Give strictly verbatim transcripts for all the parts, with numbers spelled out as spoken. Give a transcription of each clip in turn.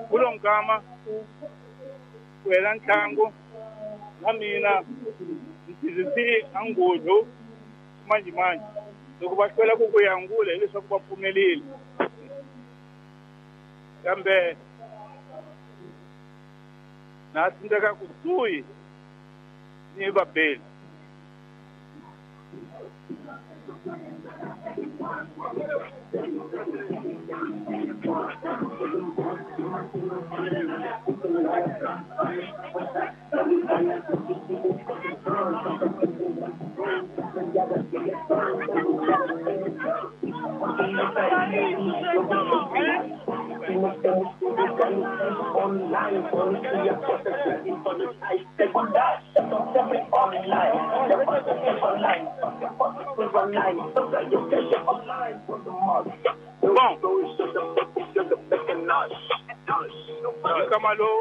Kulo nkama ku hela ntlangu na mina ndzi angudlu manjimanje loko va hlwela ku ku yangula hileswaku va pfumelile kambe na tsandzeka kusuhi ni vabeli. Bom, Kamalou.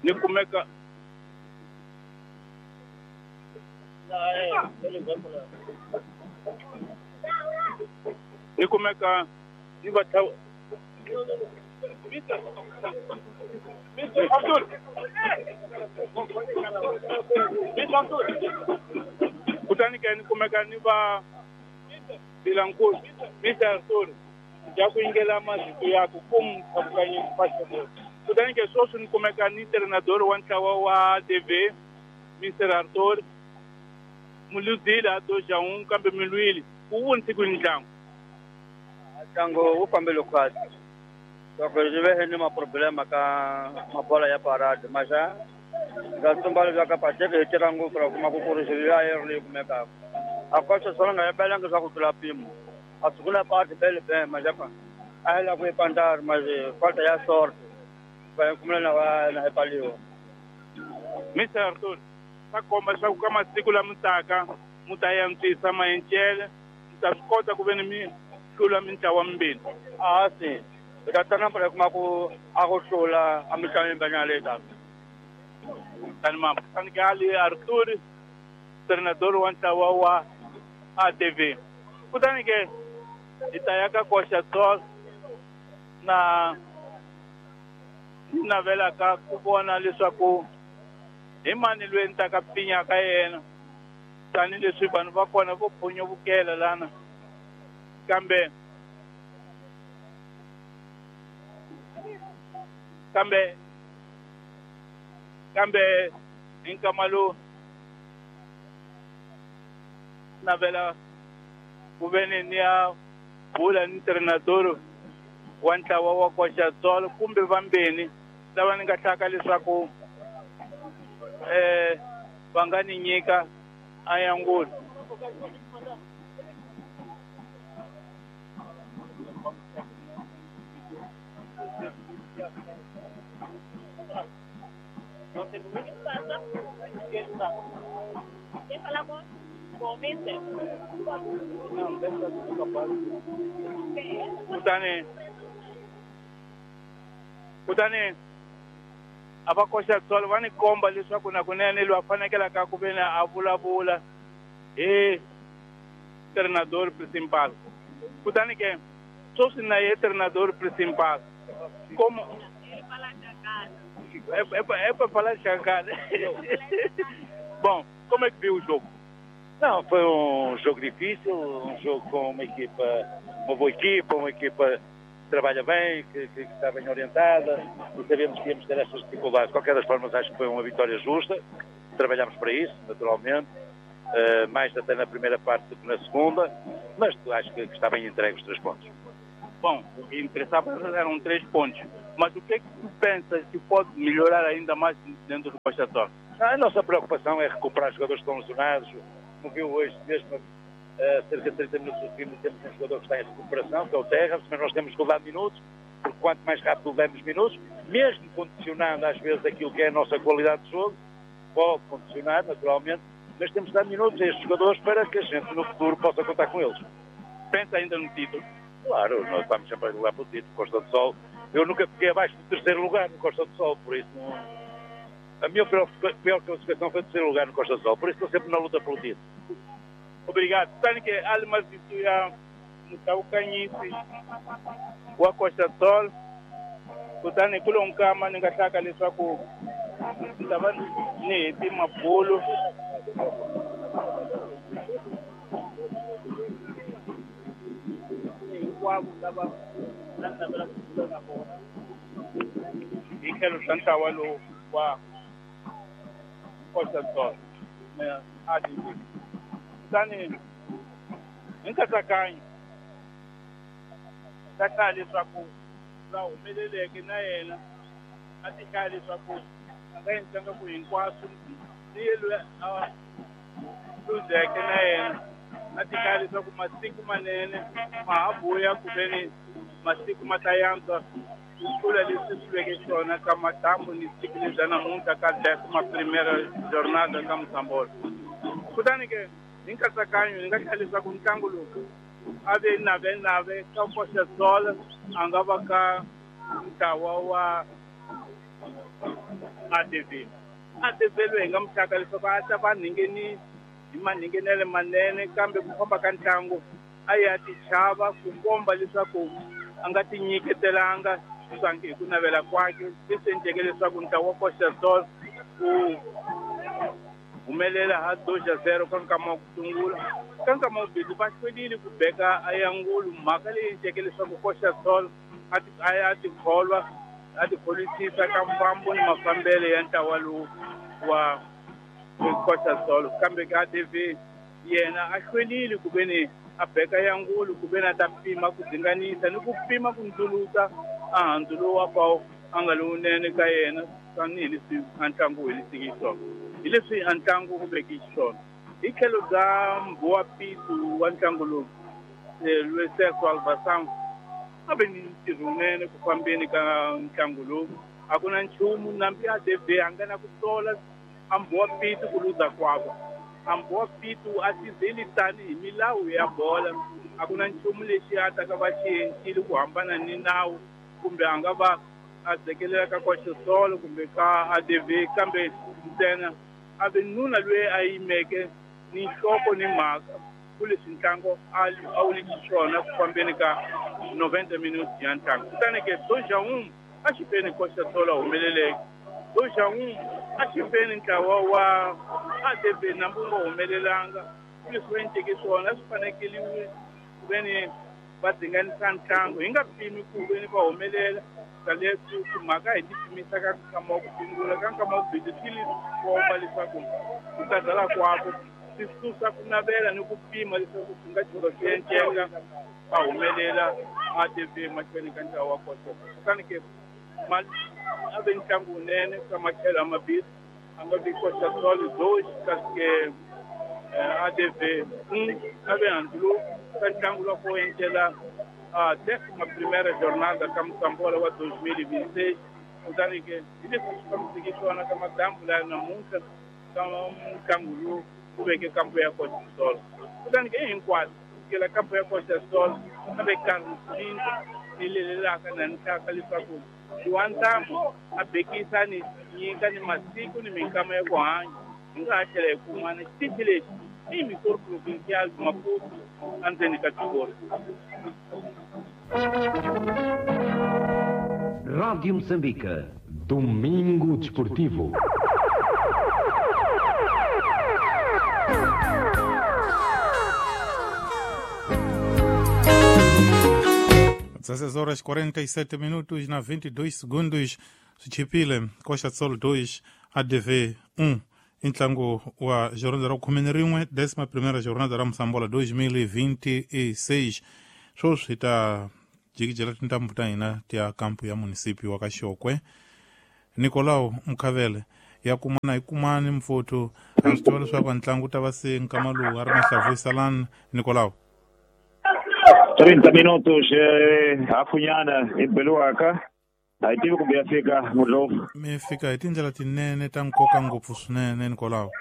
Ni kumeka ni kumeka ni va kutani ke ni kumeka ni va bilankulu Mister Arthur ya ku yingela mazito ya ku kum thabukanye pastor. Kutani ke sweswi ni kumeka ni treinador wa ntlawa wa T V Mister Arthur muluzile a dois a um kambe milwile ku vunisi ku ntlangu ntlangu wu fambile kahle loko ri ve ni maproblema ka mabola ya parade maxa nga tsumba leswaku Patrick hi tirha ngopfu ra kuma ku kurisa liya yi ri leyi kumekaka a koxa swona nga yibelangi swa ku tlula mpimo a sungula pati bele be maxa a yi lava ku yi pandari maxe falta ya sort va yi kumela na va na epaliwa. Mister Arthur swa komba leswaku ka masiku lama taka mu ta antswisa maencele mu ta swi kota ku ve ni mi hlula mintlawa mimbirhi. A si hi ta tlanga mpela kuma ku a ku hlula a mitlangu yimbanyana leyi taka. Tani mama tani ke ali Arthur treinador wa ntlawa wa A T V. Kutani ke hi ta ya ka koxa Tsol na ni navelaka ku vona leswaku hi mani loyi ni ta ka pfinya ka yena tanihileswi vanhu va kona vo phonyovukela lana kambe kambe kambe hi nkama lowu navela ku ve ni ni ya bula ni treinador wa ntlawa wa koxa Tsolo kumbe vambeni lava ni nga hlaka leswaku eh va nga ni nyika ayangulu. Kutani kutani a va koxa Tsolo va ni komba leswaku na kunene loyi a fanekelaka ku ve ni a vulavula hi treinador principal. Kutani ke sweswi na ye treinador principal como é, é, é para falar de Xangana. Bom, como é que viu o jogo? Não, foi um jogo difícil, um jogo com uma equipa, uma boa equipa, uma equipa que trabalha bem, que, que, que está bem orientada, e sabemos que íamos ter estas dificuldades. De qualquer das formas, acho que foi uma vitória justa, trabalhámos para isso, naturalmente, uh, mais até na primeira parte do que na segunda, mas acho que, que está bem entregue os três pontos. Bom, o que interessava eram três pontos, mas o que é que tu pensas que pode melhorar ainda mais dentro do Costa Torre? A nossa preocupação é recuperar jogadores que estão lesionados. Como viu hoje, mesmo uh, cerca de trinta minutos do fim, temos um jogador que está em recuperação, que é o Terra, mas nós temos que levar minutos, porque quanto mais rápido levamos minutos, mesmo condicionando às vezes aquilo que é a nossa qualidade de jogo, pode condicionar, naturalmente, Mas temos de dar minutos a estes jogadores para que a gente no futuro possa contar com eles. Pensa ainda no título? Claro, nós estamos sempre a lutar pelo título. Costa do Sol, eu nunca fiquei abaixo do terceiro lugar no Costa do Sol, por isso não... A minha pior, pior classificação foi o terceiro lugar no Costa do Sol, por isso estou sempre na luta pelo título. Obrigado. Kutani ke ali mavito ya Mutawukanyisi wa Costa do Sol, kutani ku lo nkama ni nga hlaka leswaku ni ta va ni heti mabulu hinkwavo lava na navela ku bula na vona hi tlhelo swa ntlawa lowu wa Costa do Sol A D V. Kutani hi nkatsakanyo ta hlaya leswaku la humeleleke na yena a ti hlaya leswaku a nga endlanga ku hinkwaswo ni ye loyi a luzeke na yena a ti hlaya leswaku masiku manene ma ha vuya ku ve ni masiku ma ta yantswa ku tlula leswi swi veke xona ka madyambu ni siku lebya namuntlha ka décima primeira jornada ka Moçambola. Kutani ke hi nkatsakanyo ni nga hlaya leswaku ntlangu lowu a ve nave nave ka Costa do Sol a nga va ka ntlawa wa A D V. A D V loyi hi nga muhlaka leswaku a ta va ngheni hi manhingenele manene kambe ku famba ka ntlangu a ya tichava ku komba leswaku a nga tinyiketelanga swangi hi ku navela kwake leswi endleke leswaku ntlawa wa Costa do Sol wu humelela ha dois a zero ka nkama wa ku sungula. Ka nkama wa vumbirhi va hlwerile ku beka ayangulu mhaka leyi endleke leswaku Costa do Sol a ya tikholwa a tikholisisa ka mfambo ni mafambelo ya ntlawa lowu wa Costa do Sol. Kambe ka A D V yena a hlwerile ku ve ni a beka yangulu ku ve ni a ta pima ku dzinganisa ni ku pima ku ndzuluta a handzu lowu wa pawu a nga lowunene ka yena tanihileswi a ntlangu wu heliseke xiswona hi leswi a ntlangu wu veke xiswona. Hi tlhelo bya Mbowa Pitu wa ntlangu lowu Luiseso Alvasan a ve ni ntirho wunene ku fambeni ka ntlangu lowu. A ku na nchumu nambi A D V a nga na ku sola a Mbowa Pitu ku luza kwavo. A Mbowa Pitu a tizeli tani hi milawu ya bola, a ku na nchumu lexi a ta ka va xi endlile ku hambana ni nawu kumbe a nga va a dzekelela ka Costa do Sol kumbe ka A D V, kambe ntsena a ve nuna loyi a yimeke ni nhloko ni mhaka ku leswi ntlangu a wu li xiswona ku fambeni ka noventa minutes ya ntlangu. Kutani ke dois a um a xi feni Costa do Sol a humeleleke, dois a um a xi feni ntlawa wa A D V nambu wu nga humelelanga ku leswi va endleke swona a swi fanekeliwe ku ve ni va dzinganisa ntlangu hi nga pimi ku ve ni va humelela leswi timhaka hi ti pimisa ka nkama wa ku sungula ka nkama wa vumbirhi swi li komba leswaku ku karhala kwako swi susa ku navela ni ku pima leswaku swi nga tshuka swi enceka va humelela A D V mahlweni ka ntlawa wa Costa. Kutani ke a ve ntlangu wunene ka matlhelo mambirhi a nga vi Costa do Sol dois kasi ke A D V um a ve handzu lowu ka ntlangu lowu ku encela a décima primeira jornada ka Moçambola wa dois mil e vinte e seis. Kutani ke hi leswi swi fambiseke swona ka madyambu laya namuntlha ka ntlangu lowu ku veke kampo ya Costa do Sol. Kutani ke hinkwaswo kusukela kampo ya Costa do Sol a ve Carlos Pinto ni lelelaka na nhlaka leswaku wa ntambu a bekisa ni nyika ni masiku ni minkama ya ku hanya hi nga ha tlhela hi kumana xitichi lexi i Missor Provincial Maputo endzeni ka tiko. Rádio Moçambique. Domingo Desportivo. dezesseis horas quarenta e sete minutos na vinte e dois segundos. Swichipile Costa do Sol dois, A D V um. Ntlangu wa jornada ra khume ni rin'we, décima primeira jornada ra Moçambola dois mil e vinte e seis. Sweswi hi ta jikijela tintambu ta hina ti ya kampu ya munisipyu wa ka Xokwe. Nicolau Mkhavele ya kumana hi kumani mfuthu a swi tiva leswaku ntlangu ta va se nkama lowu a ri mahlavuyisalani. Nicolau trinta minutos eh, hafunyana hi beliwaka a yi tivi kumbe ya fika Mudlovu. Mi fika hi tindlela tinene ta nkoka ngopfu swinene Nicolau.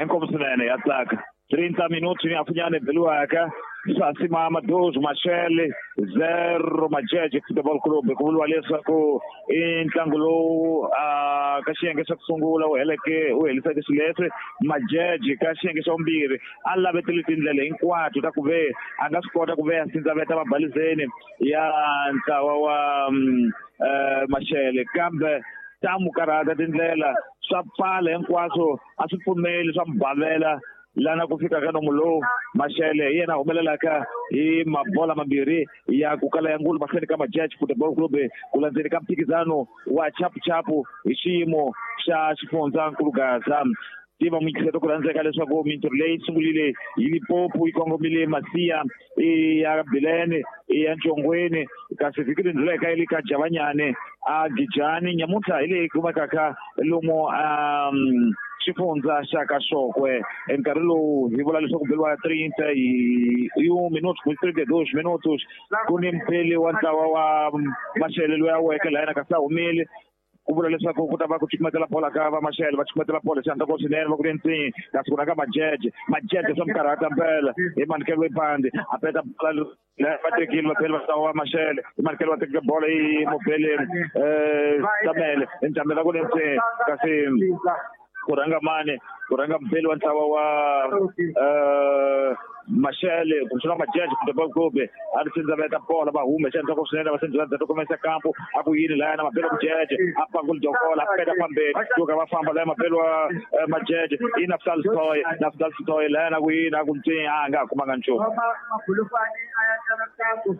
Inkomu swinene ya tsaka. trinta minutos ni afunyane beliwaka Sasimama dois Machele zero Majeje Futebol Clube. Ku vuriwa leswaku i ntlangu lowu ka xiyenge xa ku sungula wu heleke wu heliseke xileswi Majeje ka xiyenge xa vumbirhi a lavetile tindlela hinkwato ta ku ve a nga swi kota ku ve a sindzaveta mabalizeni ya ntlawa wa Machele kambe ta mu karhata tindlela swa pfala hinkwaswo a swi pfumeli swa mubavela lana ku fika ka nomu lowu Machele hi yena humelelaka hi mabola mambirhi ya ku kala ya ngulu mahlweni ka Majeje Football Club ku landzeni ka mphikizano wa chapuchapu hi xiyimo xa xifundzankulu Gaza. Tiva muyingiseri ku rhandzeka leswaku mintirho leyi sungulile hi Limpopo yi kongomile Masiya i ya Bilene i ya Ntshongweni kasi vhiki leri ndluleke yi le ka Javanyane a Gijani nyamuntlha hi leyi kumekaka lomu xifundza xa ka Xokwe. Nkarhi lowu hi vula leswaku beliwa trinta e um minutos trinta e dois minutos ku ni mpeli wa ntlawa wa Machele loyi a weke lahayana kasi a humile ku vula leswaku ku ta va ku cukumetela bola ka va Machele va cukumetela bola xandla ko swinene va ku ri ntsini kasi ku na ka Majeje Majeje swa mikarhata mpela hi manikelo wepandi a peta bola va tekile vapheli va ntlawa wa Machele hi manikelo va tekile bola hi mobele Tamele Ntamela ku ri ntsini kasi ku rhanga mani ku rhanga mpeli wa ntlawa wa Machele kumbexana Majeje Football Club a ri sindzaveta bola va hume xandla ko swinene va sindzaveta kumesa kampo a ku yini lahayana mabelo Majeje a pangula dokola a peta fambeni suka va famba lahaya mabelo wa Majeje i Naftal Stoy Naftal Stoy lahayana ku yini a ku ntsini a nga ha kumanga nchumu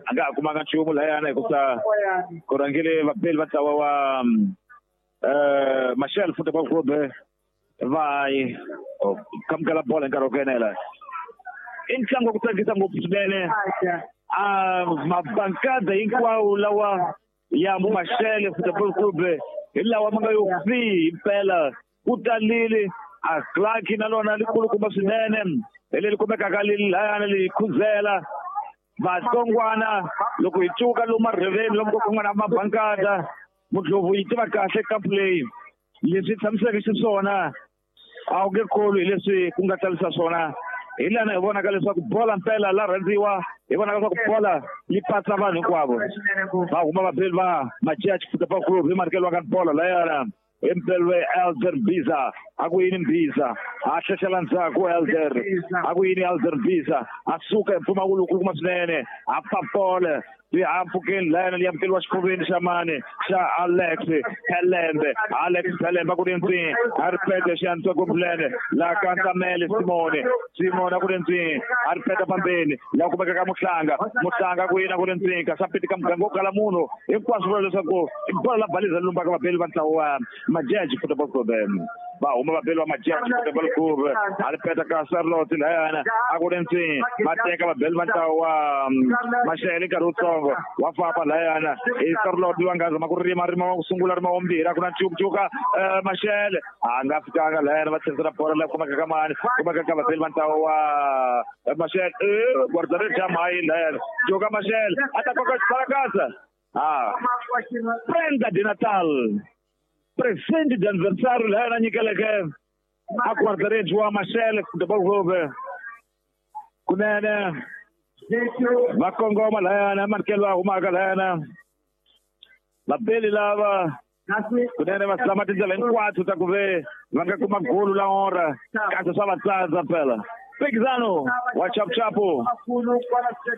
a nga ha kumanga nchumu lahayana hikusa ku rhangile vapeli va ntlawa wa Machele Football Club va kamukela bola hi nkarhi wa ku enela. I ntlangu wa ku tsakisa ngopfu swinene a mabankada hinkwawo lawa ya Machele Football Club hi lawa ma nga yo fi himpela ku talile a Clark na lona likulukumba swinene hi leri kumekaka lahayana li khuzela vatsongwana loko hi cuka lomu marheveni lomu ku nga na mabankada Mudlovu yi tiva kahle kampu leyi leswi tshamiseke xiswona a wu nge kholwi hi leswi ku nga tsalisa swona hi lana hi vonaka leswaku bola mpela la rhandziwa hi vonaka leswaku bola yi patsa vanhu hinkwavo va huma vabeli va Majeje Football Club hi manikelo ka bola layana hi mpelwe Elder Mbiza a ku yini Mbiza a tlhexela ndzhaku Elder a ku yini Elder Mbiza a suka hi mpfumawulo wukulukumba swinene a papole swihahampfhukeni layana li amukeriwa xifuveni xa mani xa Alex Pelembe Alex Pelembe a ku ri ntsini a ri pete xiantswa kumplene la ka Ntamele Simone Simone a ku ri ntsini a ri peta pambeni la kumeka ka Muhlanga Muhlanga ku yina ku ri ntsini kasi a peti ka muganga wo kala munhu hinkwaswo vula leswaku i bola la baliza lumbaka vabeli va ntlawa wa Majeje Football Club va huma vabeli va Majeje Football Club a ri peta ka Charlotte layana a ku ri ntsini va teka vabeli va ntlawa wa Machele nkarhi wutsongo wa famba layana i Charlotte va nga zama ku rima rima wa ku sungula rima wa mbirhi a ku na ncukucuka Machele a nga fikanga layana va tlherisela bola la kumeka ka mani kumeka ka vabeli va ntlawa wa Machele guarda-redes ja mayi layana cuka Machele a ta koka xibalakasa ah prenda de Natal presente de aniversário layana nyikeleke a guarda-redes wa Machele Football Club kunene va kongoma layana manikelo va humaka layana vabeli lava kunene va zama tindlela hinkwato ta ku ve va nga kuma golu la ora kasi swa va tsandza phela Mphikizano wa chapuchapu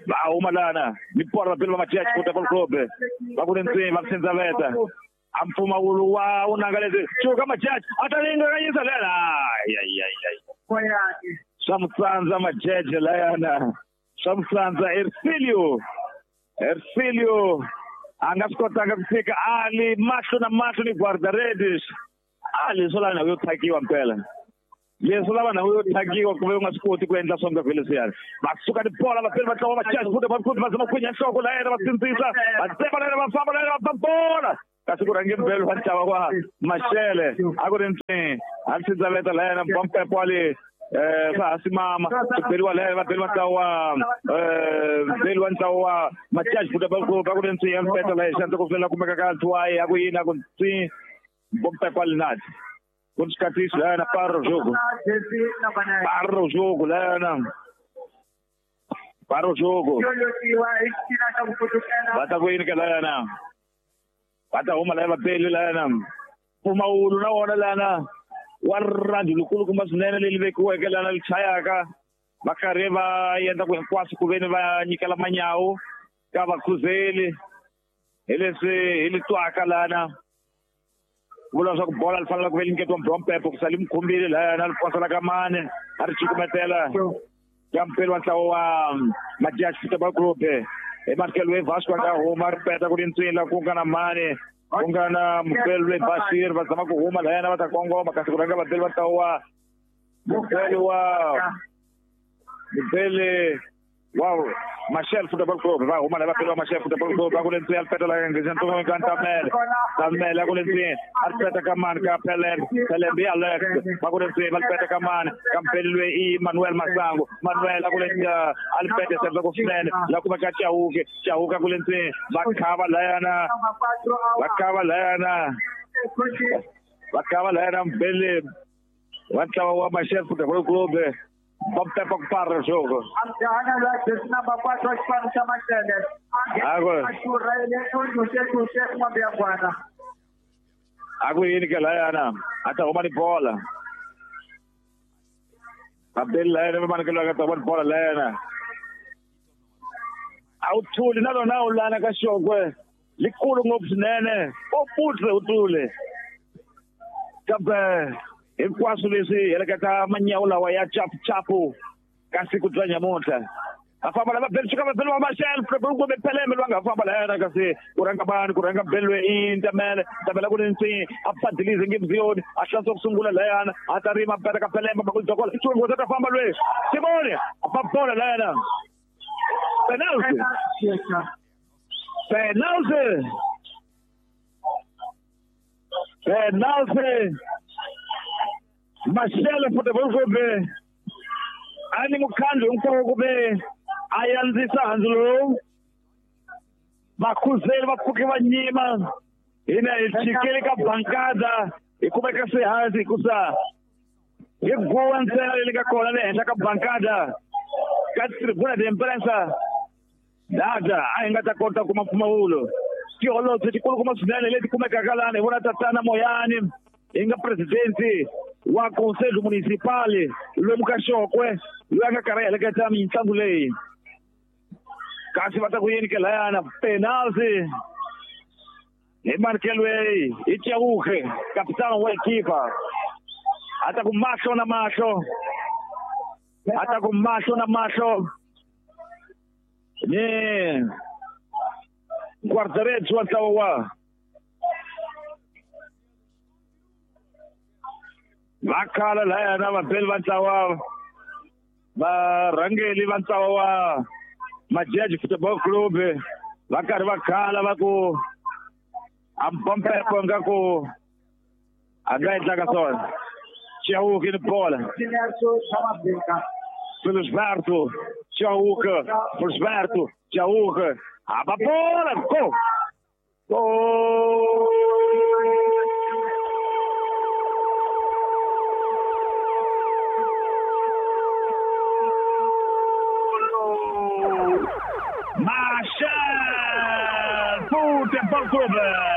va huma lana ni pora vabeli va Majeje Football Club va ku ri ntsini va sindzaveta a mpfumawulo wa unanga leswi cuka Majeje a ta lingakanyisa layana ay ay ay swa mutsandza Majeje layana swa mutsandza Ercilio Ercilio a nga swi kotanga ku fika ali mahlo na mahlo ni guarda-redes ali swo lava ndhawu yo thakiwa mpela leswo lava ndhawu yo thakiwa ku ve u nga swi koti ku endla swa nga leswiyani va suka tibola vapeli va ntlawa va Majeje Football Club va zama khwinya nhloko layena va sindzisa va tsema layena va famba layena va ba bola kasi ku rhange mbelo va ntlawa wa Machele a ku ri ntsini a ri sindzaveta layena bampepo ali eh swa simama ku beliwa layena va beliwa ntlawa wa eh beliwa ntlawa wa Majeje Football Club a ku ri ntsini ya mpeta laha xandla ku fela kumeka ka Ntwayi a ku yini a ku ntsini bompepo ali nati Ku ni xikatiso lana para o jogo. Para o jogo lana. Para o jogo. Va ta ku yini ka lana? Va ta huma lava pele lana. Mpfumawulo na wona lana wa rirhandzu lukulukumba swinene leri vekiweke lana li chayaka va karhi va endla ku hinkwaswo ku veni va nyikela manyawu ka vakhuzeli hi leswi hi li twaka lana vula leswaku bola li fanele ku ve li nyiketiwa Mbompepo ku sali mukhumbile lana li posela ka mane a ri cukumetela ka mpeli wa ntlawa wa Majaji Football Club hi Markel we Vasco a nga huma ri peta ku ri ntswila ku nga na mane ku nga na mupeli loyi Bashir va zama ku huma layana va ta kongoma kasi ku rhanga vapeli va ntlawa wa mupeli wa mupeli wa Machel Football Club va huma lava vapeli va Machel Football Club va ku le ntswini a ri peta la nghenisa ntsongo ka Ntamele Ntamele a ku le ntswini a ri peta ka mani ka Pelembe Pelembe i Alex va ku le ntswini va ri peta ka mani ka mpeli loyi i Manuel Masango Manuel a ku le a ri peta se ku swinene la kuma ka Chauke Chauke a ku le ntswini va khava layana va khava layana va khava layana mpeli wa ntlawa wa Machel Football Club Vamos para para o jogo. Agora. Agora ele que lá ana, até uma de bola. Abdel lá ele mano que lá tá uma bola lá ana. Awuthuli nalona ulana kaShokwe likhulu ngobunene oputle uthule. Kambe hinkwaswo leswi heleketa manyawu lawa ya chapuchapu ka siku bya nyamuntlha a famba lava beli suka vabeli va Machel kumbe Pelembe loyi a nga famba layena kasi ku rhanga bani ku rhanga beli loyi i Ntamele Ntamele ku ri ntsini a padilize ngemziyoni a hlantswa ku sungula layana a ta rima peta ka Pelembe makulidokola xingozi ta famba loyi Simone a ba bola layana penalty penalty penalty Machel Football Club a ni mukhandlu hinkwawo ku ve a yandzisa handzu lowu vakhuzeli va pfuke va nyima hina hi chikele ka bankada hi kumeka se hansi hikusa hi guwa ntsena leyi nga kona le henhla ka bankada ka tribuna de imprensa dada a hi nga ta kota kuma mpfumawulo tiholobye tikulukumba swinene leti kumekaka lana hi vona tatana Moyani hi nga presidenti wa Conselho Municipal lomu ka Xokwe loyi a nga karhi a heleketa mitlangu leyi kasi va ta ku yini ke layana penalty hi Markelwey hi Chauke kapitano wa ekipa a ta ku mahlo na mahlo a ta ku mahlo na mahlo ni guarda-redes wa ntlawa wa va khala layana vabeli va ntlawa varhangeli va ntlawa wa Majaji Football Club va karhi va khala va ku a Mpompepo nga ku a nga endlaka swona Chauke ni bola Felisberto Chauke Felisberto Chauke a ba bola gol gol Machel Futebol Clube.